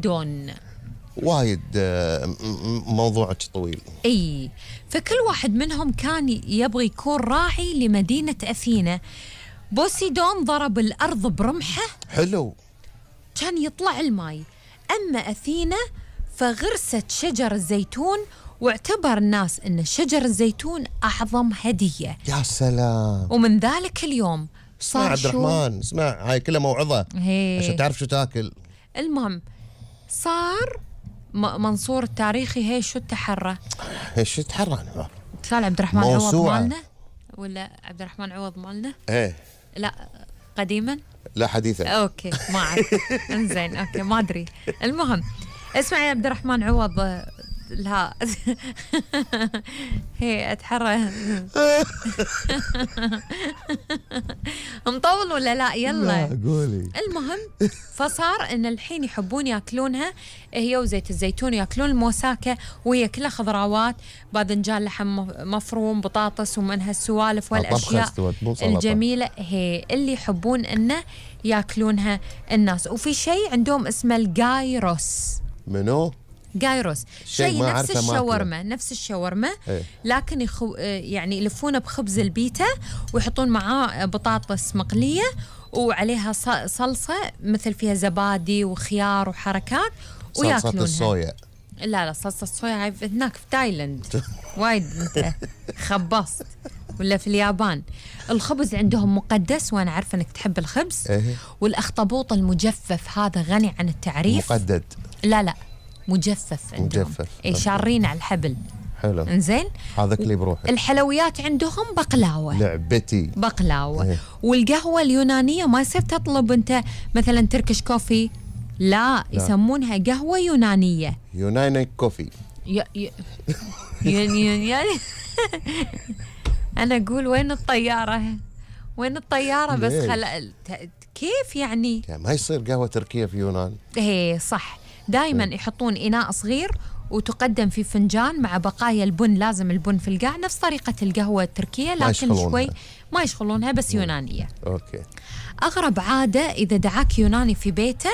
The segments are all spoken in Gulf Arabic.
دون. وايد موضوعك طويل. اي، فكل واحد منهم كان يبغي يكون راعي لمدينة أثينا. بوسيدون ضرب الأرض برمحه، حلو، كان يطلع الماي. أما أثينا فغرست شجر الزيتون، واعتبر الناس أن شجر الزيتون أعظم هدية. يا سلام. ومن ذلك اليوم صار عبد الرحمن، اسمع، هاي كلها موعظة عشان تعرف شو تاكل. المهم صار منصور التاريخي هي شو التحرى؟ ايش التحرى؟ قال عبد الرحمن عوض مالنا ولا عبد الرحمن عوض مالنا؟ ايه لا قديما؟ لا حديثا. اوكي ما اعرف. انزين اوكي ما ادري. المهم اسمع يا عبد الرحمن عوض، لا هي اتحرى. مطول ولا لا؟ يلا لا قولي. المهم فصار ان الحين يحبون ياكلونها هي وزيت الزيتون، ياكلون الموساكة وهي كلها خضروات، باذنجان، لحم مفروم، بطاطس، ومن هالسوالف والاشياء الجميلة هي اللي يحبون انه ياكلونها الناس. وفي شيء عندهم اسمه الجايروس. منو؟ جايروس، شيء نفس الشاورما، نفس الشاورما ايه؟ لكن يعني يلفونه بخبز البيتا ويحطون معاه بطاطس مقلية وعليها صلصة مثل فيها زبادي وخيار وحركات وياكلونها. صلصة الصويا؟ لا صلصة الصويا هاي هناك في تايلاند. وايد انت خبصت. ولا في اليابان الخبز عندهم مقدس، وانا عارفه انك تحب الخبز. ايه؟ والاخطبوط المجفف هذا غني عن التعريف. مقدد؟ لا مجفف عندهم. مجفف. اي شارين على الحبل. حلو. انزين. هذا كلي بروحه. الحلويات عندهم بقلاوه. لعبتي. بقلاوه. ايه؟ والقهوه اليونانيه ما يصير تطلب انت مثلا تركش كوفي، لا يسمونها قهوه يونانيه. يوناني كوفي. يعني انا اقول وين الطياره؟ وين الطياره؟ بس كيف يعني ما يصير قهوه تركيه في يونان؟ ايه صح. دائما يحطون إناء صغير وتقدم في فنجان مع بقايا البن، لازم البن في القاع نفس طريقة القهوة التركية، لكن شوي ما يشغلونها بس يونانية. أوكي. أغرب عادة إذا دعاك يوناني في بيته،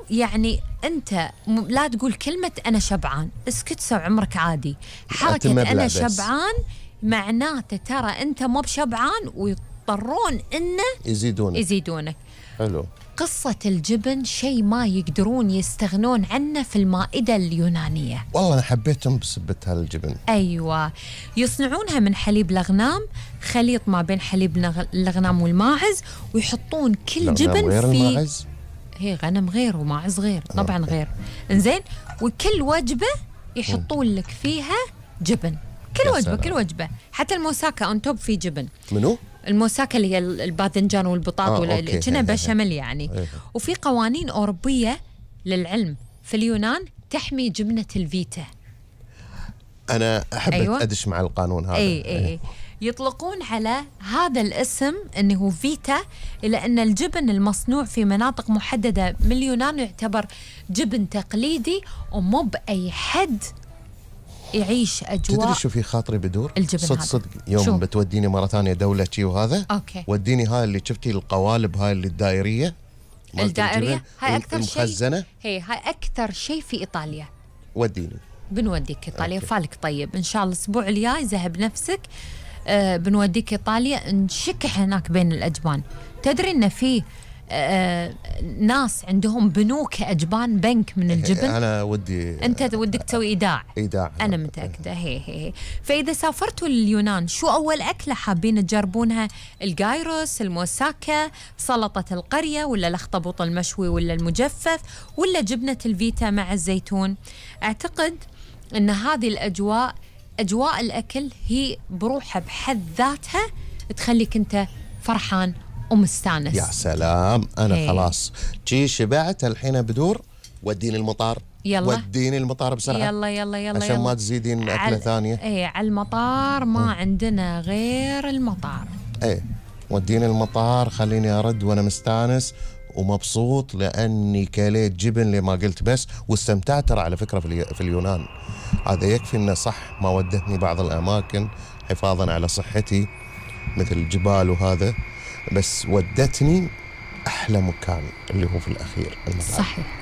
يعني أنت لا تقول كلمة أنا شبعان، اسكت سو عمرك عادي. حركة أنا شبعان معناته ترى أنت مو بشبعان ويضطرون إنه يزيدونك. حلو. قصة الجبن شيء ما يقدرون يستغنون عنه في المائدة اليونانية. والله أنا حبيتهم بسبة هالجبن. أيوة، يصنعونها من حليب الأغنام، خليط ما بين حليب الأغنام والماعز، ويحطون كل جبن غير في الماعز؟ هي غنم غير وماعز غير طبعا غير. إنزين، وكل وجبة يحطون لك فيها جبن، كل وجبة حتى الموساكا أون توب في جبن. منو؟ الموساكا اللي هي الباذنجان والبطاط كنا بشاميل يعني. وفي قوانين أوروبية للعلم في اليونان تحمي جبنة الفيتا. أنا أحب أدش مع القانون هذا. أي. يطلقون على هذا الاسم أنه فيتا، إلى أن الجبن المصنوع في مناطق محددة من اليونان يعتبر جبن تقليدي، ومو بأي حد يعيش أجواء. تدري شو في خاطري بدور؟ الجبن صدق يوم شو؟ بتوديني مرة ثانية دولة شي وهذا أوكي. وديني هاي اللي شفتي القوالب هاي اللي الدائرية هاي أكثر المخزنة. هاي أكثر شيء في إيطاليا. وديني. بنوديك إيطاليا. فالك طيب إن شاء الله الأسبوع الجاي ذهب نفسك. بنوديك إيطاليا نشكح هناك بين الأجبان. تدري إن في ناس عندهم بنوك أجبان، بنك من الجبن. أنا ودي أنت ودك تسوي إيداع. أنا متأكدة. هي. فإذا سافرتوا لليونان شو أول أكلة حابين تجربونها؟ الجايروس، الموساكا، سلطة القرية، ولا الأخطبوط المشوي، ولا المجفف، ولا جبنة الفيتا مع الزيتون؟ أعتقد أن هذه الأجواء، أجواء الأكل، هي بروحها بحد ذاتها تخليك أنت فرحان ومستانس. يا سلام. أنا خلاص جي شبعت الحين بدور. وديني المطار. يلا وديني المطار بسرعة. يلا عشان ما تزيدين أكلة ثانية. على المطار ما عندنا غير المطار. وديني المطار، خليني أرد وأنا مستانس ومبسوط لأني كليت جبن لما قلت بس، واستمتعت ترى على فكرة في اليونان. هذا يكفي إنه صح ما ودتني بعض الأماكن حفاظا على صحتي مثل الجبال وهذا، بس ودتني أحلى مكان اللي هو في الأخير المطار. صحيح.